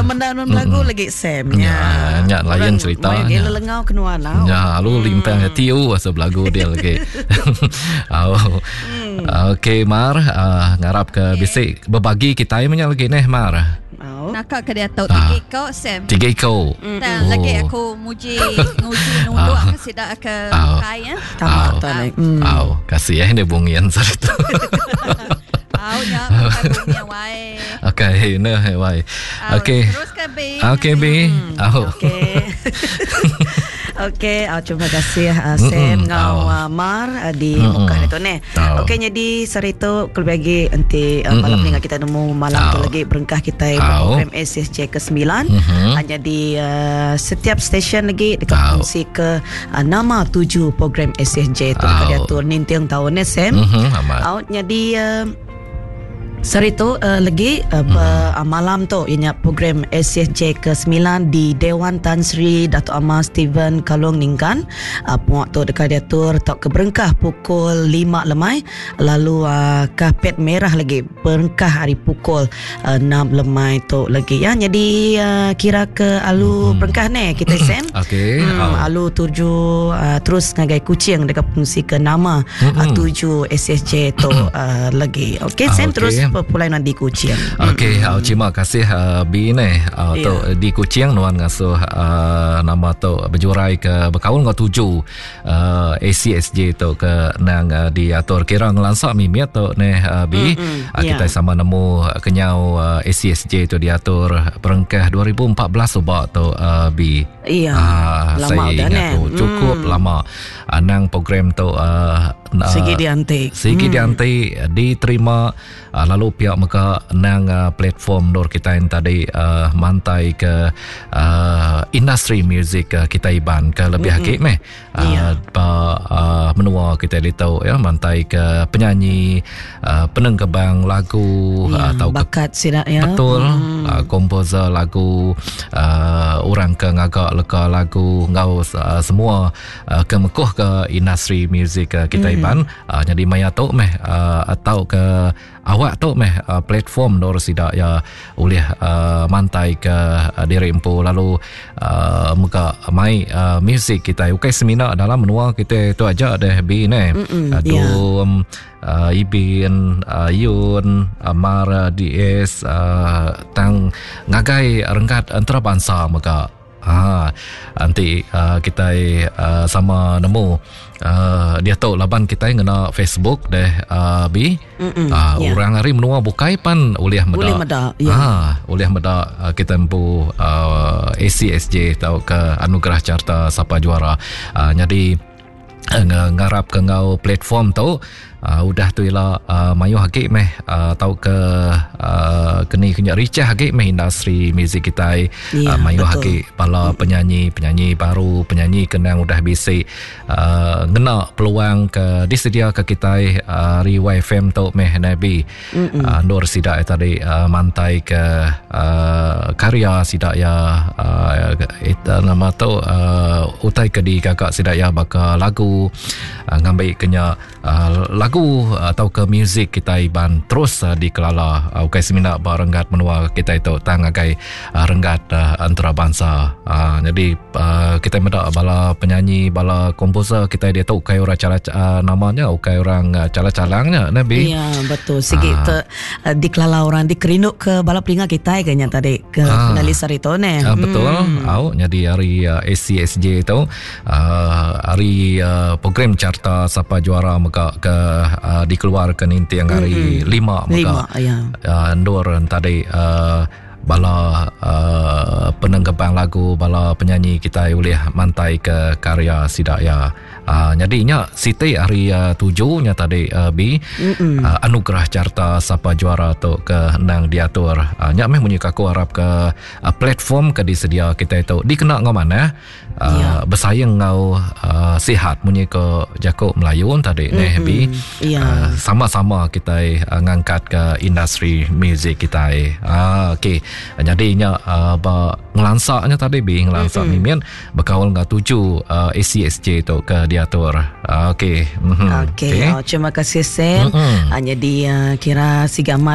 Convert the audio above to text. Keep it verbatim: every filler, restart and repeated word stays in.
Menda nun lagu lagi Sam nya. Nya lain cerita. Nya lelengau kenuan lau. Nya lalu hmm. limpang tiu asal belagu dia lagi. Oh. Hmm. Okey Mar, uh, ngarap ke okay. Bisi berbagi kita nya lagi neh Mar. Oh. Nakak ke dia tau tiga iko Sam. Tiga iko. Dan oh. Lagi aku muji nguji nunduk ke sida ke kai ya. Tamat tadi. Au, kasih eh dia bungian saritu. Au nya bukan wai. Okey, ne wai. Okey. Terus ke B. Okey B. Au. Okey. Okey, uh, terima kasih uh, Sam ngau uh, Mar uh, di Mukah itu ne. Okey, jadi saritu kelebih lagi enti uh, malam ni kita nemu malam tu lagi berengkah kita program A C S J ke sembilan. Hanya di uh, setiap stesen lagi dekat fungsi ke uh, nama tuju program A C S J tu dekat diatur nintiang tahun ne Sam. Au jadi uh, saritu uh, lagi uh, mm. uh, malam tu ianya program A C S J ke sembilan di Dewan Tan Sri Dato' Amar Stephen Kalong Ningkan. Uh, puak tu dekat diatur tok ke berengkah pukul lima lemai, lalu uh, kapet merah lagi berengkah hari pukul uh, enam lemai tu lagi ya. Jadi uh, kira ke alu mm. berengkah ne kita Sam. Okey. Hmm, oh. Alu tuju uh, terus ngagai Kuching dekat fungsi ke nama mm-hmm. uh, tuju A C S J tu uh, lagi. Okey Sam, ah, okay. Terus pulai di Kuching. Okey, mm. uh, terima kasih uh, B ni uh, yeah. Tu di Kuching nuan ngasuh uh, nama tu berjurai ke berkaul ngau tuju uh, A C S J tu ke nang uh, diatur kira ngelansak mimit tu ni uh, B. Mm-hmm. Uh, kita yeah. sama nemu kenyau uh, A C S J tu diatur perengkah dua ribu empat belas ubak tu uh, B. Iya. Uh, lama saya dah ingat tu cukup mm. lama. Uh, nang program tu uh, sigi diantik. Sigi mm. diantik diterima uh, lalu pihak mega nang uh, platform dor kita yang tadi uh, mantai ke uh, industri muzik uh, kita Iban ke lebih mm-hmm. hakik meh uh, yeah. ba, uh, menua kita litau ya mantai ke penyanyi uh, penengkebang lagu yeah, atau bakat sidak ya betul mm. uh, komposer lagu uh, orang ke ngagak leka lagu ngau uh, semua uh, ke mekuh ke industri muzik uh, kita mm. Iban uh, jadi maya tu meh uh, atau ke awak tu meh uh, platform dor sidak ya oleh uh, mantai ke uh, diri empu lalu uh, muka mai uh, muzik kita ukai semina dalam menua kita tu aja deh bi ne Adum yeah. uh, Ibin uh, Yun uh, Mara D S uh, tang ngagai renggat antarabangsa mega. Ha, nanti uh, kita uh, sama nemu uh, dia tu laban kita ngena Facebook deh uh, bi uh, yeah. Orang hari menua bukai pan ulih meda ulih meda ya. Ha, ulih meda uh, kita empu uh, A C S J tau ke Anugerah Carta Sapa Juara uh, jadi uh, ngarap ke ngau platform tu Uh, udah tu ialah uh, mayuh agik meh uh, tau ke uh, keni kena ricah agik meh industri muzik kita ya, uh, mayuh agik bala penyanyi penyanyi baru penyanyi kenang udah bisik uh, ngena peluang ke disedia ke kita uh, hari Y F M tu meh Nabi uh, Nur sidak tadi uh, mantai ke uh, karya sidak ya uh, it, nama tu uh, utai ke di kakak sidak ya baka lagu uh, ngambil kena uh, lagu atau ke muzik kita Iban terus uh, dikelala uh, ukai semina ba renggat menua kita itu tang agai uh, renggat uh, antarabangsa uh, jadi uh, kita meda bala penyanyi bala komposer kita dia tu ukai orang cara uh, namanya ukai orang uh, cala-calangnya Nabi. Ya betul sigi uh, te, uh, dikelala orang dikerinduk ke bala pelinga kita kayaknya tadi ke uh, penalis hari tu ne. Uh, betul hmm. Au jadi hari uh, A C S J itu uh, hari uh, program Carta Sapa Juara mega ke Uh, dikeluarkan inti yang hari mm-hmm. lima maka lima, ya. uh, ndur tadi uh, bala uh, penenggebang lagu bala penyanyi kita boleh mantai ke karya sidak ya. Uh, jadi nya Siti hari uh, tujuh nya tadi uh, B uh, Anugerah Carta Sapa Juara tu ke nang diatur. Uh, nya meh munyi aku harap ke uh, platform ke disedia kita itu dikena ngau mana uh, ya. Bersaing ngau uh, sihat munyi ke Jakub Melayu tadi mm-hmm. neh B ya. Uh, sama-sama kita uh, ngangkat ke industri muzik kita. Uh, okey. Jadi nya uh, ba ngelansaknya tadi B ngelansak mm-hmm. mimin berkaul ngau tuju uh, A C S J tu ke diatur. Uh, okey. Mm-hmm. Okey. Okay. Oh, terima kasih Sam. Mm-hmm. Hanya di uh, kira sigama